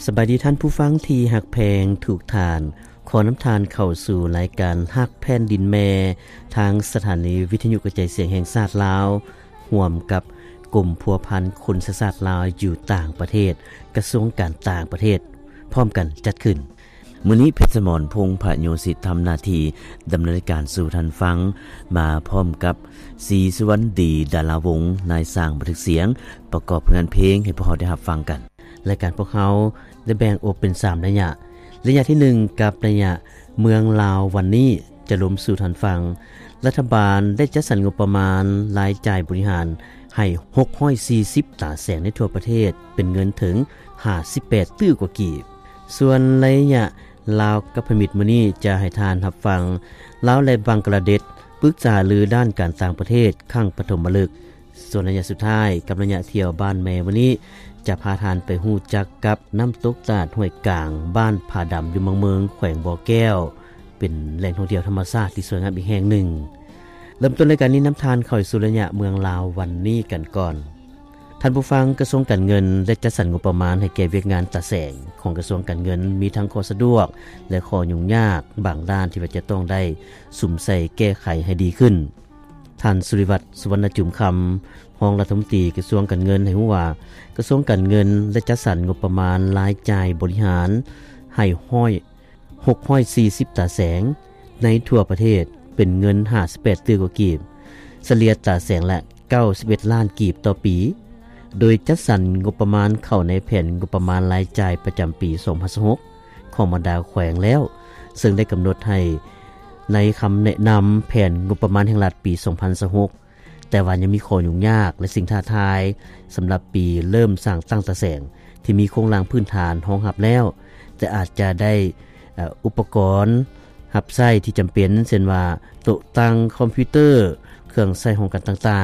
ສະບາຍດີທ່ານຜູ້ຟັງທີ່ຮັກແພງທຸກທ່ານ. ຂໍນຳທ່ານເຂົ້າສູ່ລາຍການຮັກແຜ່ນດິນແມ່ ທາງສະຖານີວິທະຍຸກະຈາຍສຽງແຫ່ງຊາດລາວ ຮ່ວມກັບກົມພົວພັນຄົນເຊື້ອຊາດລາວຢູ່ຕ່າງປະເທດ, ກະຊວງການຕ່າງປະເທດ ພ້ອມກັນຈັດຂຶ້ນ. ມື້ນີ້ ເພັດສະໝອນ ພົງພະໂຍສິດ ທຳໜ້າທີ່ດຳເນີນລາຍການສູ່ທ່ານຟັງ, ມາພ້ອມກັບ ສີສຸວັນດີ ດາລາວົງ, ນາຍຊ່າງບັນທຶກສຽງ, ປະກອບຜົນງານເພງໃຫ້ພວກເຮົາໄດ້ຮັບຟັງກັນ. ລາຍການພວກເຮົາໄດ້ແບ່ງອອກເປັນສາມໄລຍະ. ໄລຍະທີໜຶ່ງ ກັບໄລຍະເມືອງລາວວັນນີ້ ຈະລົມສູ່ທ່ານຟັງ. ລັດຖະບານໄດ້ຈັດສັນງົບປະມານລາຍຈ່າຍບໍລິຫານໃຫ້ຫົກຮ້ອຍສີ່ສິບຕາແສງໃນທົ່ວປະເທດ ເປັນເງິນເຖິງຫ້າສິບແປດຕື້ກວ່າກີບ. ສ່ວນໄລຍະລາວກັບພະມິດມື້ນີ້ ຈະໃຫ້ທ່ານຮັບຟັງ ລາວ ແລະ ບັງກະລາເດັດ ປຶກສາຫາລືດ້ານການຕ່າງປະເທດຄັ້ງປະຖົມມະລຶກ. ສ່ວນໄລຍະສຸດທ້າຍ ກັບໄລຍະທ່ຽວບ້ານແມ່ມື້ນີ້ ຈະພາທ່ານໄປຮູ້ຈັກກັບນ້ຳຕົກຕາດຫ້ວຍກາງ ບ້ານຜາດຳ ຢູ່ເມືອງເມືອງ ແຂວງບໍ່ແກ້ວ ເປັນແຫຼ່ງທ່ອງທ່ຽວທຳມະຊາດທີ່ສວຍງາມອີກແຫ່ງໜຶ່ງ. ເລີ່ມຕົ້ນລາຍການນີ້ ນຳທ່ານເຂົ້າສູ່ໄລຍະເມືອງລາວວັນນີ້ກັນກ່ອນ. ທ່ານຜູ້ຟັງ, ກະຊວງການເງິນໄດ້ຈັດສັນງົບປະມານໃຫ້ແກ່ວຽກງານຕາແສງຂອງກະຊວງການເງິນ ມີທັງຂໍ້ສະດວກ ແລະ ຂໍ້ຫຍຸ້ງຍາກບາງດ້ານທີ່ວ່າຈະຕ້ອງໄດ້ສຸມໃສ່ແກ້ໄຂໃຫ້ດີຂຶ້ນ. ທ່ານ ສຸລິວັດ ສຸວັນນະຈຸມຄຳ, ຮອງລັດຖະມົນຕີກະຊວງການເງິນ ໃຫ້ຮູ້ວ່າ ກະຊວງການເງິນໄດ້ຈັດສັນງົບປະມານລາຍຈ່າຍບໍລິຫານໃຫ້ຮ້ອຍ ຫົກຮ້ອຍສີ່ສິບຕາແສງໃນທົ່ວປະເທດ ເປັນເງິນຫ້າສິບແປດຕື້ກວ່າກີບ, ສະເລ່ຍຕາແສງລະເກົ້າສິບເອັດລ້ານກີບຕໍ່ປີ, ໂດຍຈັດສັນງົບປະມານເຂົ້າໃນແຜນງົບປະມານລາຍຈ່າຍປະຈຳປີສອງພັນຊາວຫົກ ຂອງບັນດາແຂວງແລ້ວ, ເຊິ່ງໄດ້ກຳນົດໃຫ້ໃນຄຳແນະນຳແຜນງົບປະມານແຫ່ງລັດປີສອງພັນຊາວຫົກ ແຕ່ວ່າຍັງມີຂໍ້ຫຍຸ້ງຍາກ ແລະ ສິ່ງທ້າທາຍສຳລັບປີເລີ່ມສ້າງຕັ້ງຕາແສງ ທີ່ມີໂຄງລ່າງພື້ນຖານຮອງຮັບແລ້ວ, ແຕ່ອາດຈະໄດ້ ເອີ ອຸປະກອນຮັບໃຊ້ທີ່ຈຳເປັນ ເຊັ່ນວ່າ ໂຕະຕັ່ງຄອມພິວເຕີ, ເຄື່ອງໃຊ້ຫ້ອງການຕ່າງໆ